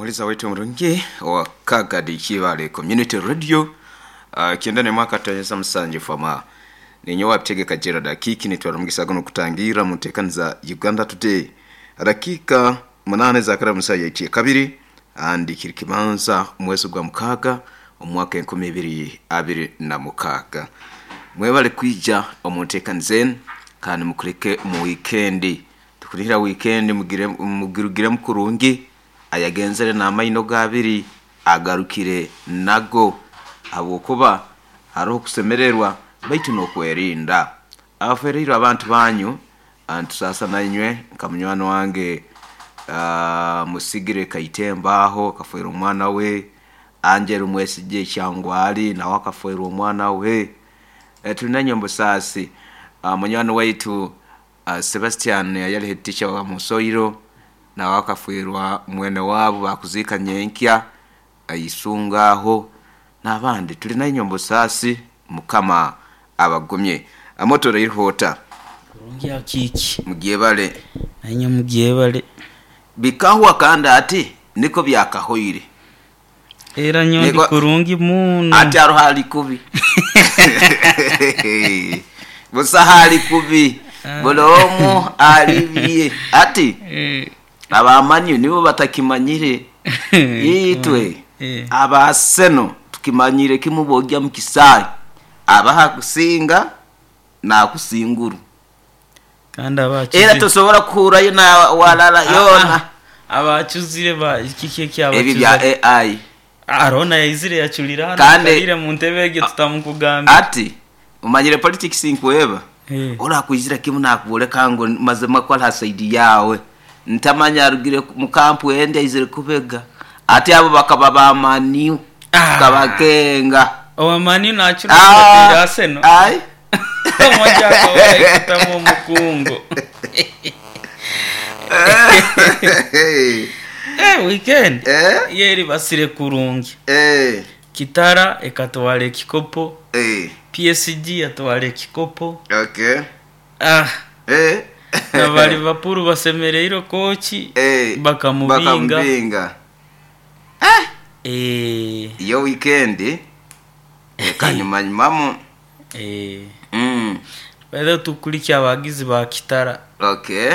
Omuhuriza waitu omurungi owa Kagadi Kibaale Community Radio kyenda n'emwe akatonyeza musanju fama. Ninyowe Abitegeka Gerald Akiiki nitwara omugisa gunu kutangiirra mu nteekaniza Uganda Today. Dakiika munaana ezakara mu saaha yaitwe yakabiri kandi kiri kibanza omwezi gwa mukaaga omu mwaka 2026. Mwebale kwija omu nteekaniza enu kandi mukuleke mu wiikendi. Tukunihira wiikendi mugirugiremu kurungi, ayagenzere n'amaino ge abiri agarukire nago habwokuba haroho okusemererwa baitu n'okwerinda. Abafereirwe abantu banyu nitusaasa nainywe nka munywani wange Musigire Kaitemba aho akafeerwa omwana we, Angel Mwesigye Kyangwali nawe akafeerwa omwana we. Tuli nainywe omu busaasi. Munywani waitu Sebastian ayali head teacher wa Musoiro nawe akafeerwa mwene waabu baakuziika nyenkya Isunga aho n'abandi. Tuli nainywe omu busaasi, Mukama abagumye. Amotoreirwe ota? Kurungi akiiki. Mugyebale. Nainywe mugyebale. Bikahwa kandi ati niko byakahoire. Era nyowe ndi kurungi muno. Ati aroho ali kubi. Busaho ali kubi. Buli omu ali bye. Ati abamanyi nibo batakimanyire. Itwe aba Arsenal tukimanyire kimu bwogya mu kisaayi abaho akusinga nakusinguru. Kandi Era abakizire. tosobora kuhurrayo na walala yoona. Abakizire ba kiki Ebi bya ekyabakiza? AI. Arona yaizire yachulira hanu Kandi aikalire mu ntebe egyo tutamukugambira. Ati omanyire politics nkweba, ori akwizira kimu nakwoleka ngu mazima ku ali ha saidi yaawe. Ntamanya arugire mu kampu endi aizire kubega. Ati abo bakaba ba Man U tukabakenga. Owa Man U nakira owabateire Arsenal. Ai. Omoja akaba yaikutamu omukungu. Eh, weekend Eh? yo eribasire kurungi. Eh. Kitara ekatwara ekikopo, Eh. PSG yatwara ekikopo. Okay. Ah. Eh. Na ba Liverpool basemereirwe kooki Eh. bakamubinga. Bakamubinga. Eh. Eh. Iyo weekend ekanyumanyumamu. Eh. Mm. By the way tukulikya abagizi ba Kitara. Okay.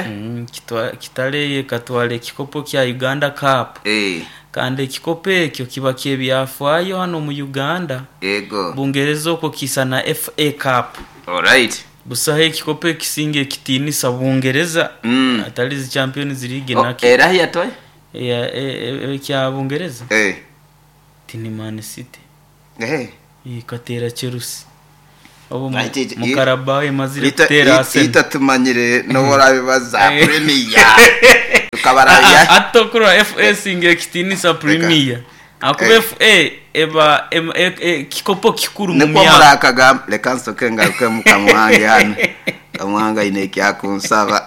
Kitara eyo ekatwara ekikopo kya Uganda Cup. Eh. Kandi ekikopo ekyo kiba ky'ebyafaayo hanu omu Uganda. Ego. Bungereza okwo kiisana FA Cup. Alright. Busaho ekikopo ekisinga ekitiinisa Bungereza atari zi Champions League Oh, naki. era yatoe? Eya ekya Bungereza? Eh. Ti ni Man City. Eh. Ekateera Chelsea. Obu Right, mu Carabao emazire kuteera Arsenal. Itwe tumanyire n'obu orabibaza Premier tukabarabya. Hati okurora FA esinga ekitiinisa Premier. Ahakuba FA eba kikopo kikuru mu Nikwo myaka. murakagamba. Leka nsoke ngarukemu Kamuhangi hanu. Kamuhangi aine eki akunsaba.